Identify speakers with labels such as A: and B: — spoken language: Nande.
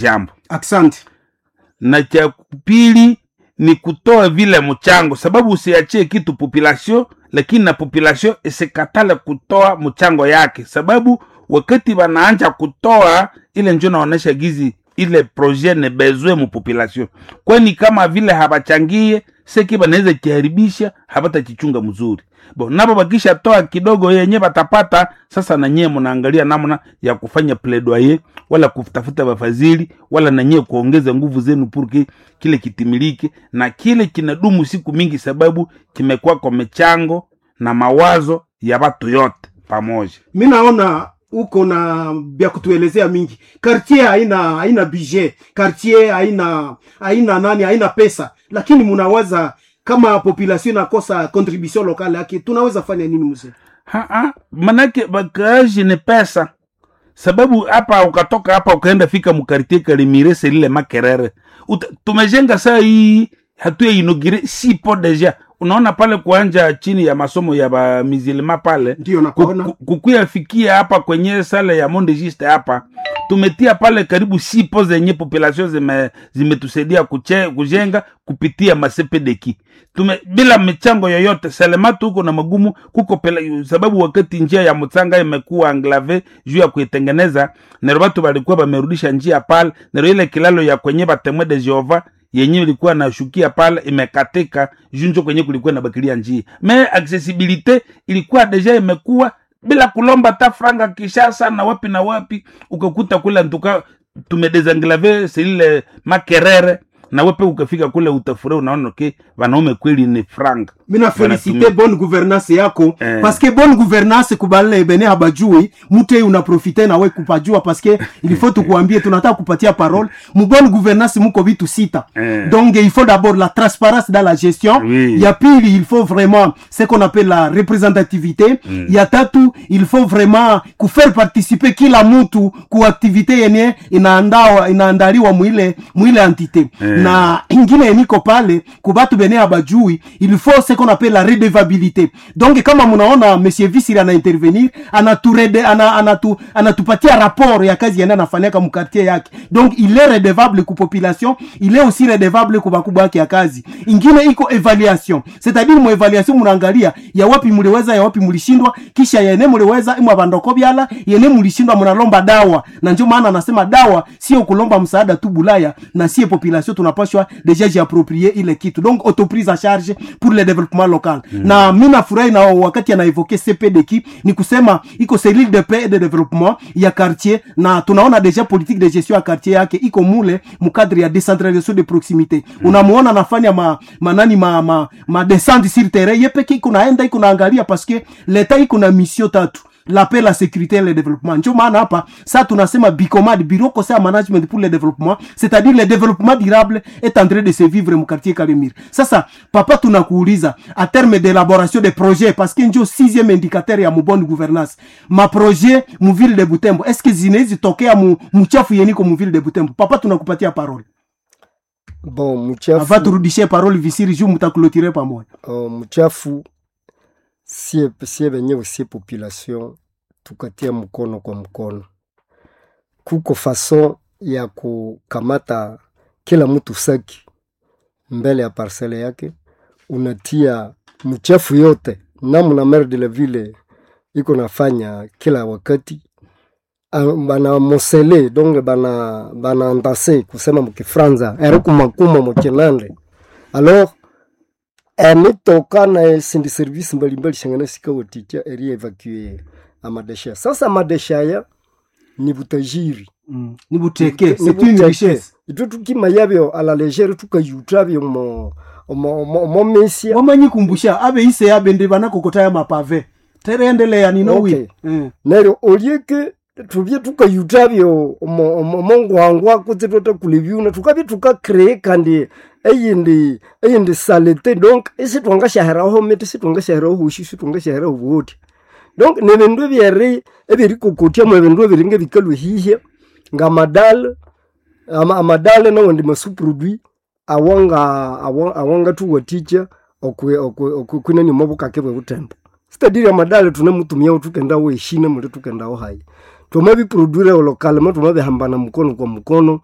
A: Jambo.
B: Asante.
A: Na cha pili ni kutoa vile mchango, sababu usiachie kitu population, lakini na population isikatale kutoa mchango yake, sababu wakati wanaanja kutoa ile njo naonesha gizi ile projet ne besoin mu population, kwani kama vile habachangie seki banaweza kiharibisha, habatachichunga mzuri bo nabo bakisha toa kidogo yenye batapata sasa, na nyie mnaangalia namna ya kufanya plaidoyer wala kutafuta wafadhili wala na nyie kuongeza nguvu zenu purki kile kitimilike na kile kinadumu siku mingi, sababu kimekuwa kwa michango na mawazo ya watu yote pamoja.
B: Mi naona uko na vya kutuelezea mingi. Quartier haina budget, quartier haina nani, haina pesa, lakini munawaza kama population inakosa contribution locale yake, tunaweza fanya nini mzee?
A: Ha, manake bakaaji ni pesa, sababu hapa ukatoka hapa ukaenda fika mkartie Kalimire selile Makerere. Tumejenga saa hii hatuya inogire sipo deja. Unaona pale kuanja chini ya masomo ya ba mizilima pale
B: Ndio nakuona.
A: Kukuyafikia hapa kwenye sale ya Monde Juste hapa tumetia pale karibu sipo zenye population zimetusaidia kujenga kupitia masepedeki tume bila michango yoyote selematu huko na magumu kuko pele, sababu wakati njia ya Mutsanga imekuwa enclave juu ya kuitengeneza nero batu balikuwa bamerudisha njia pale nero ile kilalo ya kwenye batemwe de Jehova yenye ilikuwa nashukia pale imekatika junjo kwenye kulikuwa na bakilia njia me accessibilité ilikuwa deja imekuwa bila kulomba ta franga Kishasa na wapi na wapi, ukakuta kule ntuka tumedesenglave selile Makerere na wepe ukafika kule utafurahi, unaona okay, wanaume kweli ni franga.
B: Mina félicité bonne gouvernance yako
A: Eh.
B: parce que bonne gouvernance kubale bene habajui mute unaprofite nawe kupajua parce que il faut tukuambie tunataka kupatia parole mu bonne gouvernance muko vitu sita
A: Eh.
B: donc il faut d'abord la transparence dans la gestion
A: Oui.
B: ya pili il faut vraiment ce qu'on appelle la représentativité ya tatu il faut vraiment kufaire participer kila mutu ku activité yenye inaandaliwa mwile entité na ingine yeniko pale kubatu bene abajui il faut ce qu'on appelle la redevabilité donc kama munaona monsieur Visiri ana intervenir anaturede ana, anatu, anatupatia rapport ya kazi yenye anafanyaka mkartier yake donc il est redevable ku population il est aussi redevable ku bakubwa yake ya kazi ingine iko evaluation c'est-à-dire mu evaluation munaangalia ya wapi muliweza ya wapi mulishindwa kisha yene muliweza imwe bandoko byala yene mulishindwa munalomba dawa na ndio maana anasema dawa sio kulomba msaada tu bulaya na sie population tunapashwa deja jiapproprier ile kitu donc autoprise en charge pour le développement local na mi nafurahi na wakati anaevoke CPDK ni kusema iko cellule de paix et de développement ya quartier na tunaona deja politique de gestion ya quartier yake iko mule mukadre ya décentralisation de proximité unamuona anafanya ma, manani ma descente sur terrain ye peke iko naenda iko naangalia parce que l'etat iko na mission tatu la paix la sécurité et le développement ndio maana hapa sa tunasema bicomad bureau conseil en management pour le développement c'est-à-dire le développement durable est en train de se vivre mu quartier Kalemire sasa papa tunakuuliza à terme d'élaboration des projets parce que ndio sixième indicateur ya mu bonne gouvernance ma projet mu ville de Butembo est-ce que zinawezi tokea mu mchafu yeniko mu ville de Butembo papa tunakupatia parole
C: Bon, mchafu,
B: avant turudishie parole visiri juu mtaklotire pamoja
C: mchafu sie benyewe sie population tukatia mkono kwa mkono, kuko fason ya kukamata kila mtu saki mbele ya parcele yake, unatia mchafu yote namna maire de la ville iko nafanya kila wakati bana mosele donc bana andase kusema mukifranza erikumakuma mukinande alors emitoka na esindi service mbalimbali shangana sikawaticha eri evacue amadesha sasa amadesha aya ni butajiri
B: ni buteke
C: Ni
B: c'est une
C: buteke.
B: richesse
C: itwe tukima yabyo à la légère tukayuta mo mo mesia
B: wamanyikumbusha abe ise abe ndi banakokota ya mapave tereendelea ninowi
C: Okay. neryo olyeke tubye tukayutabyo omongwangwa kutse twatakula ebyuna tukabye tukakree kandi eyindi salete donc isitwangasyaheraho miti sitwangasyaheraho hushi sitwangasyaheraho buhoti donc nebindu ebyeri ebyerikokotyamu ebindu ebiringa ebikalwe hihya ngamadale amadale nawandi masuproduit awangatuwatikya okwinani omobukake bwe butembo sitadiri amadale tunemutumiawo tukendawo eshina muli tukendawo hayi twamabiproduire lokalema twamabihambana mukono kwa mukono